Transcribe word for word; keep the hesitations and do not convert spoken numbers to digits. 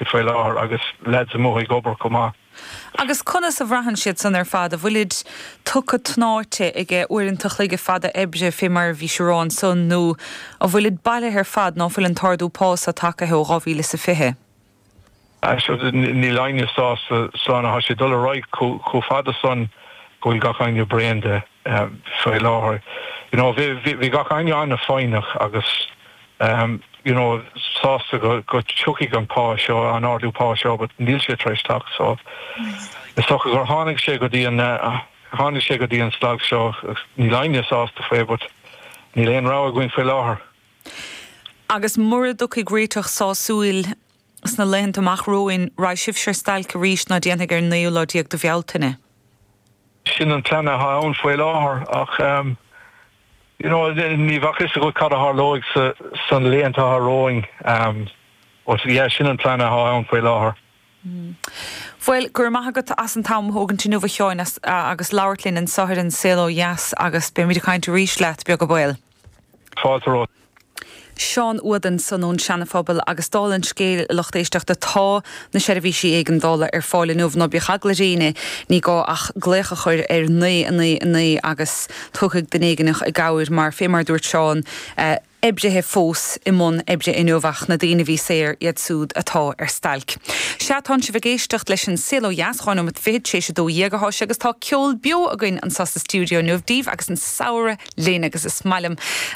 Faoi láthair agus lads amuigh ag obair chomh maith. Agus conas a bhraitheann siad san ar fad, an bhfuilid tugtha tnáite aige uaireanta an chloig fada oibre fé mar a bhí sé rá ansan nó an bhfuilid bailithe ar fad ná fuil an t-ardú pá seo tagtha ó dhá mhíle is a fiche? Níl éinne sásta san tá sé dul ar aghaidh chomh fada san go bhfuil gach éinne bréan de faoi láthair. You know, bhí gach éinne an-fhoighneach agus um, you know, sásta go go dtiocfaidh an pá seo an ardú pá seo, but níl sé tar éis teacht so is dócha gur tháinig sé go dtí an uh, tháinig sé go dtí an staid seo níl éinne sásta faoi, but níl aon rogha againn faoi láthair. Agus mura dtiocfaidh réiteach sásúil sna laethanta amach romhainn raghaidh sibhse ar stailc arís ná déanfaidh ar an naoú lá déag de Bhealtaine. Sin an plean atá ann faoi láthair ach um, you know, ní bheadh fhios agat cad a tharlóidh sa san laethanta romhainn um, but yeah, sin an plean atá ann faoi láthair. Mm. Bhuel go raibh maith agat as an t-am a thógaint inniu a Sheáin agus labhairt linn anseo ar An Saol Ó Dheas agus beimid ag caint arís leat beag an baol. Fáilte romhat. Seán Uad ansan ón Seana-Phobal agus dála an scéil lucht éisteachta tá na seirbhísí éigeandála ar fáil inniu ná bíodh eagla ar éinne ní gá ach glaoch a chur ar naoi a naoi a naoi agus tiocfaidh duine éigineach i gcabhair mar fé mar dúirt Seán eh, oibrithe fós i mbun oibre inniu ach na daoine a bhí saor iad súd atá ar stailc. Sea tánn sibh ag éisteacht leis an Saol Ó Dheas dhá nóiméad fichead tar éis a dó dhéag atá sé agus tá ceol beo againn anseo sa stiúideo inniu daoibh agus an samhradh linn agus is maith liom